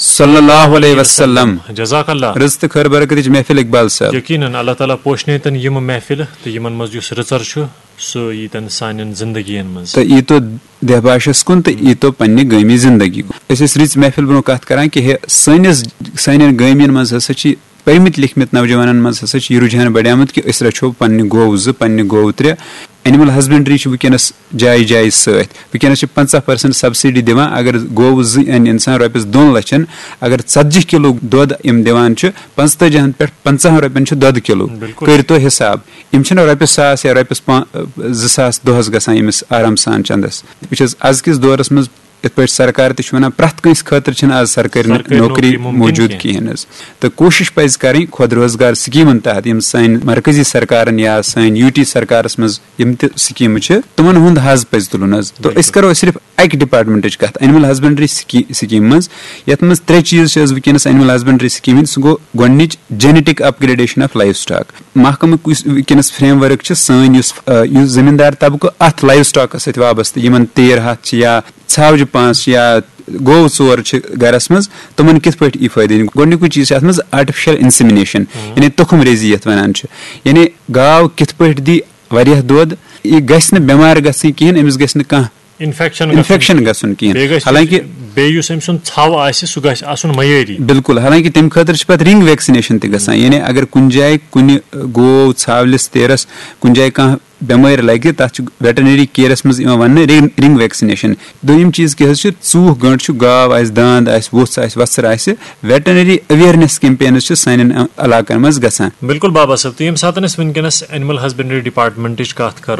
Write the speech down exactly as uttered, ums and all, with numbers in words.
صلی اللہ علیہ وسلم۔ جزاک اللہ۔ رٕژ تہٕ خٲر برکتٕچ محفل اقبال صٲب۔ یقیناً اللہ تعالیٰ پوشنٲیتن یِم محفلہٕ تہٕ یِمن منٛز یُس رٕژر چھُ سُہ ییٖتن سانٮ۪ن زندگین منٛز۔ تہٕ ییٖتو دہباشس کُن تہٕ ییٖتو پننہِ گٲمی زندگی کُن۔ أسۍ ٲسۍ رٕژ محفل برونٛہہ کتھ کران کہِ ہے سٲنِس سانٮ۪ن گٲمین منٛز ہسا چھِ پٔرمٕتۍ لیکھمٕتۍ نوجوانن منٛز ہسا چھُ یہِ رُجحان بڑیومُت کہِ أسۍ رچھو پننہِ گوٚو زٕ، پننہِ گوٚو ترٛےٚ۔ اینیمل ہسبنڈری چھِ وٕنکیٚنس جایہِ جایہِ سۭتۍ۔ وٕنکیٚنس چھِ پنٛژاہ پرسنٹ سبسڈی دِوان۔ اگر گوٚو زٕ انہِ انسان رۄپیس دۄن لچھن، اگر ژتجی کلو دۄد یِم دِوان چھِ، پنٛژتٲجی ہن پٮ۪ٹھ پنٛژاہن رۄپین چھُ دۄدٕ کلو۔ بِلکُل۔ کٔرۍ تو حساب، یِم چھِنہٕ رۄپیس ساس یا رۄپیس پا-، زٕ ساس دۄہس گژھان ییٚمِس آرام سان چندس۔ وٕچھ حظ، ازکِس دورس منٛز یِتھ پٲٹھۍ سرکار تہِ چھُ ونان، پرٛٮ۪تھ کٲنٛسہِ خٲطرٕ چھِنہٕ آز سرکٲرۍ نہٕ سرکٲرۍ نوکری نوکری مُمکِن موجود کینٛہہ۔ کِہیٖنۍ حظ۔ تہٕ کوٗشش پزِ کرٕنۍ خود روزگار سکیٖمن تحت یِم سانہِ مرکزی سرکارن یا سانہِ یوٗ ٹی سرکارس منٛز یِم تہِ سکیٖمہٕ چھِ، تِمن ہُنٛد حظ پزِ تُلُن حظ۔ تہٕ أسۍ کرو صرف اکہِ ڈپارٹمنٹٕچ کتھ، اینیمل ہسبنڈری سکیٖم منٛز، یتھ منٛز ترٛےٚ چیٖز چھِ حظ وٕنکیٚنس اینیمل ہسبنڈری سکیٖم ہٕنٛدۍ۔ سُہ گوٚو گۄڈٕنِچ genetic upgradation of livestock. محکمُک یُس وٕنکیٚنس فریم ورک چھِ، سٲنۍ یُس، آ، یُس زٔمیٖندار طبقہٕ اتھ لایف سٹاکس سۭتۍ وابستہٕ، یِمن تیٖر ہتھ چھِ یا ژھاوجہِ پانٛژھ چھِ یا گوٚو ژور چھِ گرس منٛز، تِمن کِتھ پٲٹھۍ یی فٲیدٕ؟ گۄڈٕنیُکُے چیٖز چھُ اتھ منٛز آرٹیفیشل انسیمنیشن، یعنی تُخم ریزی یتھ ونان چھِ، یعنی گاو کِتھ پٲٹھۍ دی واریاہ دۄد، یہِ گژھِ نہٕ بٮ۪مار گژھٕنۍ کِہیٖنۍ، أمِس گژھِ نہٕ کانٛہہ انفیکشن انفیکشن گژھُن کِہیٖنۍ۔ بیٚیہِ گژھِ حالانکہِ بیٚیہِ یُس أمۍ سُنٛد ژھاو آسہِ سُہ گژھِ آسُن معیٲری۔ بِلکُل، حالانکہِ تَمہِ خٲطرٕ چھِ پَتہٕ رِنگ ویکسِنیشن تہِ گژھان، یعنی اگر کُنہِ جایہِ کُنہِ گوو، ژھاولِس، تیرَس کُنہِ جایہِ کانٛہہ بٮ۪مٲرۍ لَگہِ، تَتھ چھُ ویٹرنری کیئرَس منٛز یِوان وَننہٕ رِنگ، رِنگ ویکسِنیشن۔ دوٚیِم چیٖز کیٛاہ حظ چھُ، ژوٗکھ گٔنٛڈ چھُ، گاو آسہِ، داند آسہِ، ووٚژھ آسہِ، وۄژھٕر آسہِ، ویٹرنری اویرنیس کیمپینز چھِ سانٮ۪ن علاقن منٛز گژھان۔ بِلکُل بابا صٲب، تہٕ ییٚمہِ ساتہٕ أسۍ وٕنکیٚنَس اینیمل ہسبنڈری ڈپارٹمنٹٕچ کَتھ کَرو،